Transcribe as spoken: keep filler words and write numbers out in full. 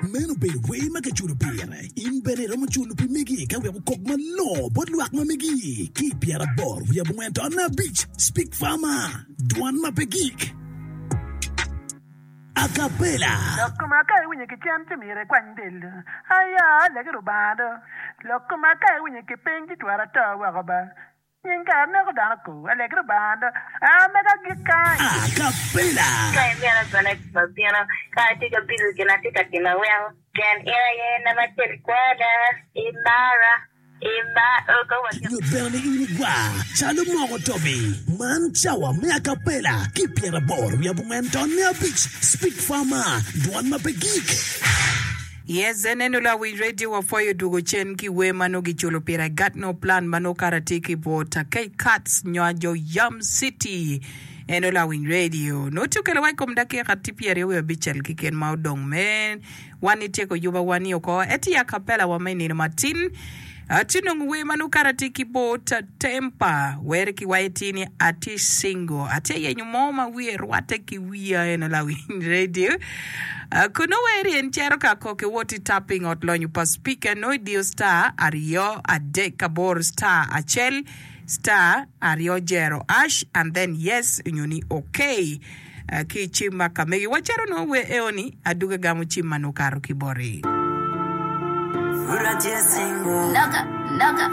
Meno obedo wer ma kiculo pire. In bene iromo culo pi megi ka wek okok malongo bot lwak ma megi. Ki i pyeraboro wiye abongwen ton abic, Speak Farmer, dwan ma pe gik. Acapella. Lok koma ka iwinyo ki cen ci myero ikwany del do. Aya, legi Rubanga do. Lok koma ka iwinyo ki piny ci twero ato woko ba. Nying kare neko dano ko. Alegi Rubanga do. A mega gik kany. Acapella. Ka imito bene wabino, ka atye ka bido gin atye ka timo weko pien in aye nama acel kwada, imara, imara, ka watye. Nyut bene ni in igwar calo moko tobi. Man cawa me acapella ki pyeraboro wiye abongwen ton me abic Speak Farmer, dwan ma pe gik. Yes, eneno lawiny radio wapwoyo dwogo cen ki wer ma nongo giculo pire I got no plan ma nongo kara tye ki bot K-Cats nyo jo Yam City. Eno lawiny radio nongo tye okelo wa i kom dakika tye pyeraryo wiye abicel keken ma odong me wan ityeko yuba wa ni oko eti acapella wa me nino matin. Atye nongo wer ma nongo kara tye ki bot Tempa wer ki waye tye ni atye single atye yenyo mo ma wiye rwatte ki wiya eno lawiny radio. Kun nongo wer en cito ka kok iwot i tapping ot lonyo pa speaker nongo idiyo star aryo adek aboro star acel star aryo jero ash and then yes onyo ni okay ki i cim ma ka megi wacito nongo wer eo ni aduga gamo cim ma nongo okato ki boti. Loka, loka.